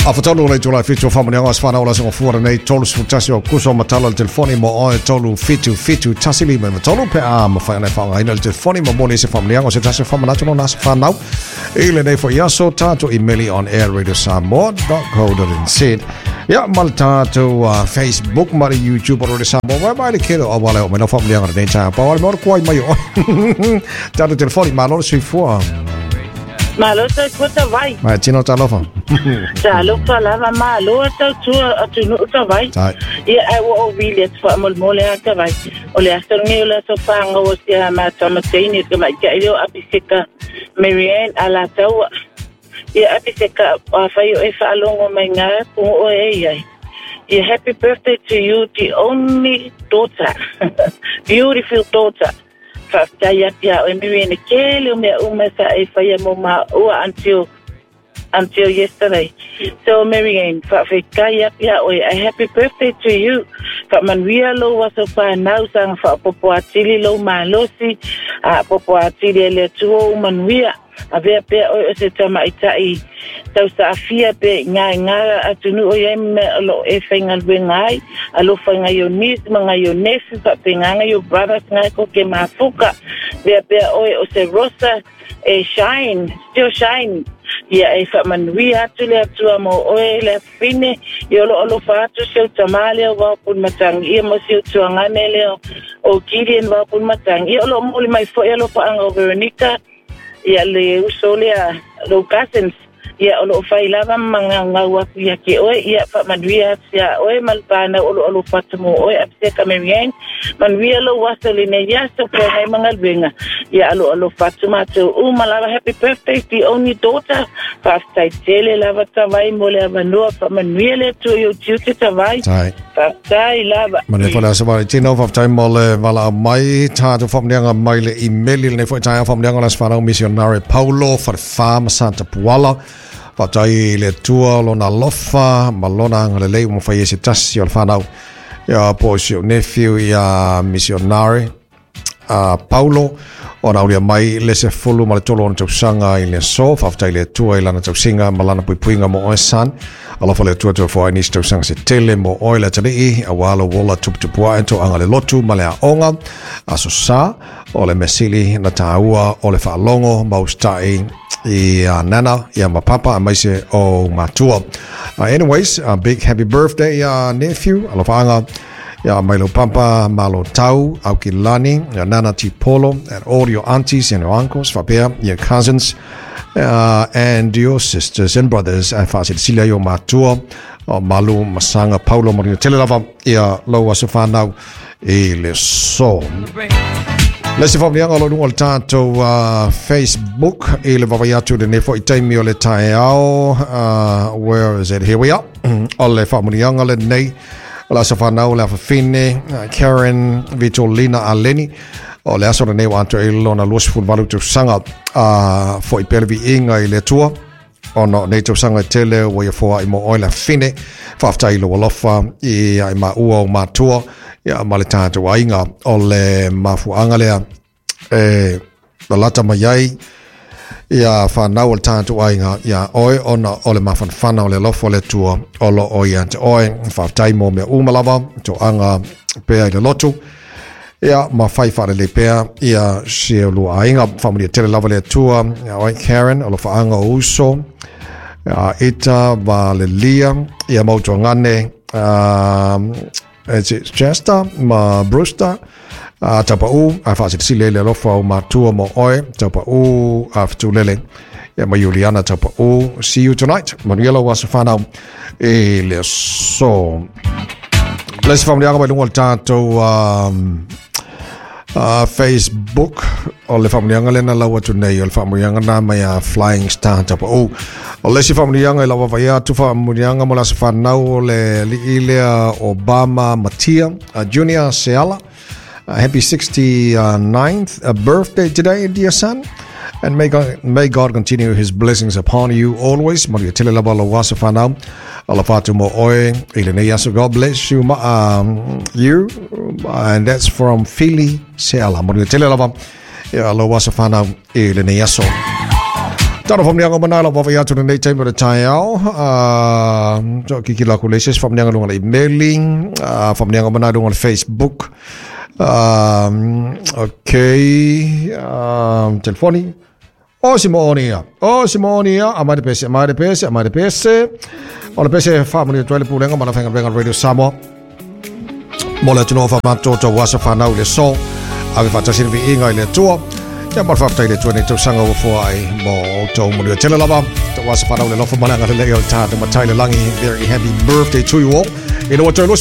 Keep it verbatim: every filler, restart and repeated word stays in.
A fatolu le tula fitu faamanuiaga o aso fanau o le aso gafua lenei tolu sefulu tasi o Aokuso matala le telefoni mo oe tolu fitu fitu tasi lima iva tolu pe a mafai ona e faaaogaina le telefoni ma moli ai se faamanuiaga o se tasi o faamanatu lona aso fanau i lenei foi aso tatou imeli on air radio samoa dot co dot nz ia ma le tatou uh, Facebook ma le YouTube o Radio Samoa wai mai le kele o auala e oo mai lau faamanuiaga lenei taeao pau ale mea o le kuai mai o oe tatou telefoni malo le soifua. Malo soifua tavai. Mai tino talofa. Talofa lava malo tautua atunuu tavai. Ia ai ua ou vili atu faamolemole a tavai. O le aso lenei o le aso pāgau o sia matou mataini o tamaitai lea o Apiseka Marianne Alataua. Ia Apiseka afai o e faalogo mai ngā pugu oe e iai. Ia happy birthday to you the only daughter. Beautiful daughter. Faafetai atu iā oe Marianne tele o mea uma sa e faia mo maua until until yesterday. So Marianne, faafetai atu iā oe a happy birthday to you. Faamanuia lou aso whanau saga faaopoopo atili lou malosi, aapopo atili e le Atua ou manuia. Avea pea oe o se tamaitai tausaafia pe i ngae atunuu o i ai ma mea o lo o e faigaluega ai, alofa i ngai o niece ma ngai o nephew, faapegaga i o brothers ngae ko ke mafuka. Avea pea oe o se rosa e shine, still shine. Ia e faamanuia atu le Atua mo oe le afafine, ia o lo o alofa atu si ou tamā lea o Vaopuni Matangi ia ma si ou tuagane lea o Gideon Vaopuni Matangi. Ia o lo o moli mai foi alofaaga o Veronica, ia le uso lea lou cousins, ia o lo o fai lava ma magaugau atu ia te oe, ia faamanuia atu iā oe ma le panau o lo o alofa atu mo oe. Apiseka Marianne, manuia lou aso lenei aso po nei ma galuega, ia aloalofa atu matou uma lava. Happy birthday the only daughter. Faafetai tele lava tavai mo le avanoa, faamanuia le Atua i ou tiute tavai. Faafetai lava. Manuia foi le aso Valentino, faafetai mo le valaau mai tatou faamanuiaga mai le imeli lenei foi taeao faamanuiaga o le aso fanau missionary Paulo Falefa ma Santa Puala. Faafetai i le Atua lona alofa ma lona agalelei ua mafai ai se tasi o le fanau ia po o si ou nephew ia missionary a Paulo ona aulia mai le sefulu ma le tolu ona tausaga i le aso. Faafetai i le Atua i lana tausiga ma lana puipuiga mo oe son. Alofa le Atua toe foai nisi tausaga se tele mo oe le atalii auā lou ola tuputupu ae toaga le lotu ma le aoga. Aso Sa o le measili na tāua o le faalogo ma usitai i a Nana ia ma Papa aemaise o matua. Uh, anyways, a big happy birthday uh, nephew. Alofaaga ia mai lou papa malo tau Aukilani, ia Nana Tipolo, and all your aunties and your uncles, faapea your cousins uh, and your sisters and brothers. Ae faasilasila i o matua o Malu Masanga Paulo Marino tele lava ia lou aso fanau i le aso. Le isi faamanuiaga o lo o luga o le tatou uh, Facebook i le vaavaai atu i lenei foi taimi o le taeao. Uh, where is it? Here we are. O le faamanuiaga lenei o le aso fanau o le afafine uh, Karen Vitolina Aleni o le aso lenei ua atoa i lona lua sefulu valu tausaga uh, foi pea le viiga i le Atua ona o nei tausaga e tele ua ia foai mo oe le afafine. Faafetai i lou alofa i ai maua o matua ia ma le tatou aiga o le mafuaaga lea e lalata mai ai ia whanau o le tatou aiga ia oe ona o le mafanafana o le alofa o le Atua o lo o ia te oe. Faafetai mo mea uma lava toaga pea i le lotu ia ma fai faalelei pea ia si o lua aiga. Faamanuia tele lava le Atua ia oe Karen, o lofaaga o uso ia Ita ma le Lia ia mautuagane um, Chester ma Brewster a Taupau a faasilasila i le alofa o matua mo oe Taupau a Fetulele ia ma Juliana Taupau. See you tonight. Manuia lou aso fanau i le aso. Le isi faamanuiaga mai luga o le tatou um, uh, Facebook o le faamanuiaga lena lau atu nei o le faamanuiaga na mai a Flying Star Taupau. O le isi faamanuiaga i lau vaavaai atu faamanuiaga mo le aso fanau o le alii lea Obama Matia uh, Junior Seala. Uh, happy sixty-ninth birthday today, dear son. And may God, may God continue his blessings upon you always. Manuia tele lava lou aso fanau. Alofa atu mo oe i lenei aso. God bless you, um, you. And that's from Philly Seala. Manuia tele lava ia lou aso fanau i lenei aso. Tano whamnianga mana la wawa iatu na nei taimi o le taeao. Uh, kiki la kule se whamnianga lunga le emailing, uh, whamnianga mana lunga le Facebook. Um, okay, um, telefoni. O Simonia, o Simonia, a mai de pese, a mai de pese, a mai de pese. O le pese whamani tuele pulenga, mana whenga renga Radio Samoa. Mo le atunoa whamato tau wasa whanau le so. Ave whatasiri vi inga i le tua. Ia mo whaftai le tua nei tausaga ua fua ai mo tau mo tele lava. Tau wasa whanau le lofa malanga le leo tāta matai le langi. Very happy birthday to you all. Ina wa tau